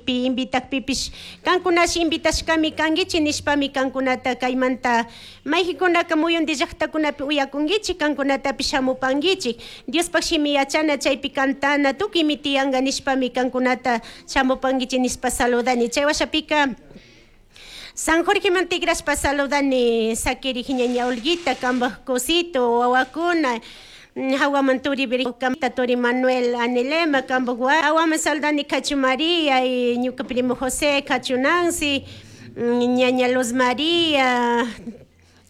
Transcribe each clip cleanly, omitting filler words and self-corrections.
Pi invitajpipish cancunash invitashcami canguichik nishpami cancunata caimanta mayjinkunaka muyundi llaktakunapi uyacunguichik, cancunatapish shamupanguichik. Diospaj shimi yachana chaypi cantana tukuymi tiyanka nishpami cancunata shamupanguichik nishpa saludani. Chay washapika San Jorgeman tigrashpa saludani sakirik ñaña Olguita, kanpak cosito, wawakuna, hawaman turi turi Manuel Anelema, kanpak hawaman saludani Cachu María y ñuka primo José, Cachu Nancy, ñaña Luz María,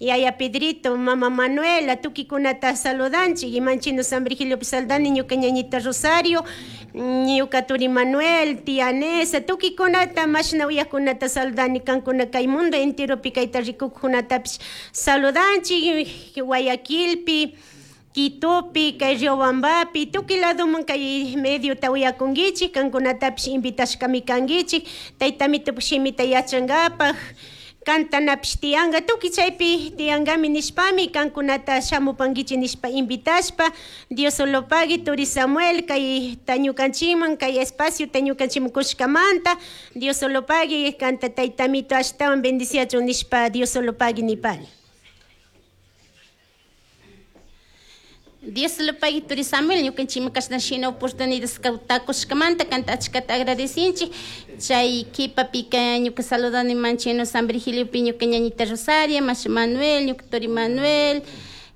yaya Pedrito, mama Manuela, tukikunata saludanchik, imanchino San Virgiliopi saludani ñuka ñañita Rosario, ñuka turi Manuel, tía Nesa, tukikunata mashna uyakunata saludani kankuna kay mundo enteropi kayta rikukkunatapish saludanchik, Guayaquilpi, Quitopi, kay Riobambapi, tukuy ladoman kay mediota uyakunkichik, kankunatapish invitashkami kankichik, tayta Amitopak shimita yachankapak, cantanapish tiyanka, tukuy chaypi tiyankami nishpami kankunata shamupankichik nishpa invitashpa, Dios solo pagui turi Samuel kay ñukanchikman kay espaciota ñukanchikman kushkamanta, Dios solo pagui kanta tayta Amito ashtawan bendiciachun nishpa Dios solo pagui nipani. Dios lo pague turi Samuel ñukanchikman kashna shina oportunidad kushkamanta kanta achkata agradecinchik. Chay kipapika ñuka saludani manchino San Virgiliopi ñuka ñañita Rosaria, mashi Manuel, ñuka turi Manuel,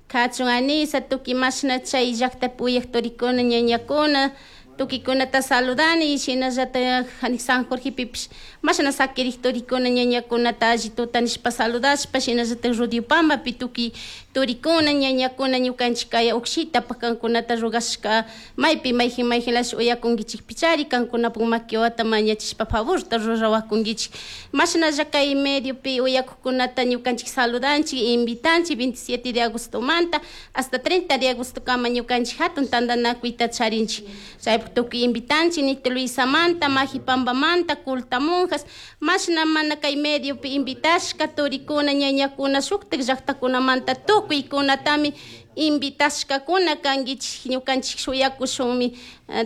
Kachun Anisa, tukuy mashna chay llaktapi uyak turikuna ñañakuna, tukuykunata saludani, shinallatak San Jorgepipish mashna sakirik turikuna ñañakunata alli tuta nishpa saludashpa, shinallatak Rudiopambapi tukuy turikuna ñañakuna ñukanchik kay ukshitapak kankunata rurashka maypi mayjin mayjinlash uyakunkichikpichari kankunapak makiwata mañachishpa favorta rurawakunkichik. Mashnalla kay mediopi uyakukunata ñukanchik saludanchik, invitanchik 27 de agostomanta hasta 30 de agosto kama ñukanchik hatun tantanakuyta charinchik. Chaypak tukuy invitanchik Nito Luisamanta, Majipambamanta, Culta Monjas, mashna mana kay mediopi invitashka turikuna ñañakuna shuktik llaktakunamanta tukuykunatami invitashkakuna kankichik ñukanchik shuyakushunmi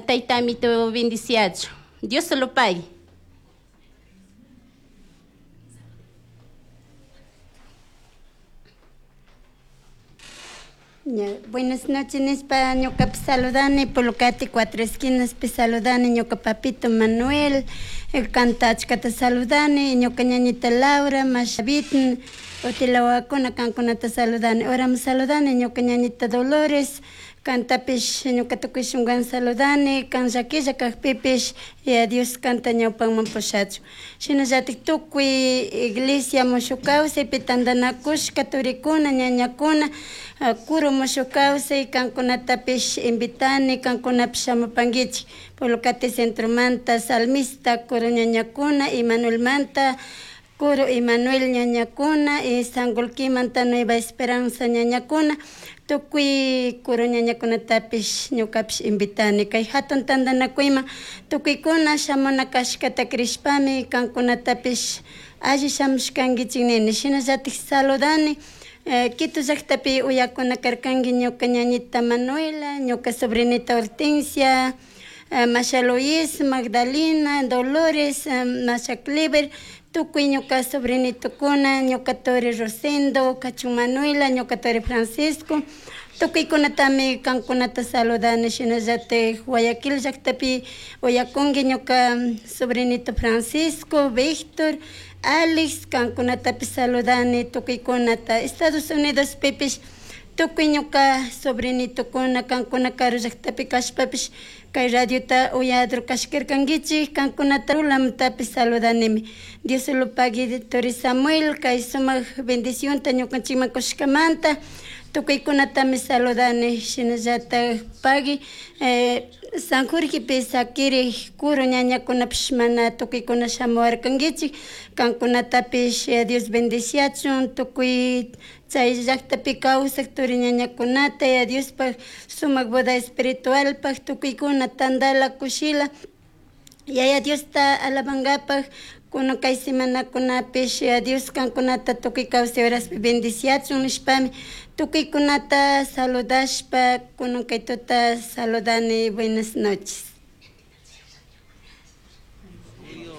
tayta Amito bendiciachun. Dios lo pague. Buenas noches, nishpa ñukapi saludani, Pulcati Cuatro Esquinas pi saludani, ñuka papito Manuel, kanta achkata saludani, ñuka ñañita Laura, Mashavit, utilawakuna kankunata saludani. Orama saludani, ñuka ñañita Dolores, kantapish ñuka tukuy shunkuwan saludani, kan llakilla kakpipish, Yaya Dios kanta ñawpanman pushachun. Shinallatik tukuy iglesia mushuk kawsaypi tantanakushka turikuna, ñañakuna, kuru mushuk kawsay kankunatapish invitani, kankunapish shamupankichik. Pulcati centromanta, salmista, kuru ñañakuna, Emanuelmanta, Kuru Emanuel ñañakuna, y Sangolquimanta Nueva Esperanza ñañakuna, tukuy kuru ñañakunatapish ñukapish invitani. Kay hatun tantanakuyman tukuykuna shamuna kashkata crishpami kankunatapish alli shamushkankichik nini. Shinallatik saludani Quito llaktapi uyakuna karkanki ñuka ñañita Manuela, ñuka sobrinita Hortensia, Masha Luis, Magdalena, Dolores, Masha Clever, tukuy ñuka sobrinitokuna, ñuka turi Rosendo, Kachun Manuela, ñuka turi Francisco, tukuykunatami kankunata saludani. Shinallatik Guayaquil llaktapi uyakunki ñuka sobrinito Francisco, Víctor, Alex, kankunatapish saludani tukuykunata. Estados Unidos pipish tukuy ñuka sobrinitokuna kankuna karu llaktapi kashpapish kay radiota uyador kashkarkankichik kankunata rulamtapish saludanimi. Dios lo pague turi Samuel kay sumak bendicionta ñukanchikman kushkamanta tukuykunatami saludani. Shinallatak pagui San Jorgepi sakirik kuru ñañakunapish mana tukuykuna shamuwarkankichik kankunatapish Dios bendiciachun tukuy chay llaktapi kawsak turi ñañakunata Yaya Diospaj sumak boda espiritualpaj tukuykuna tandala kushila Yaya Diosta alabankapak kunan kay semanakunapish Yaya Dios kankunata tukuy kawsay horaspi bendiciachun nishpami tukuykunata saludashpa kunan kay tuta saludani. Buenas noches.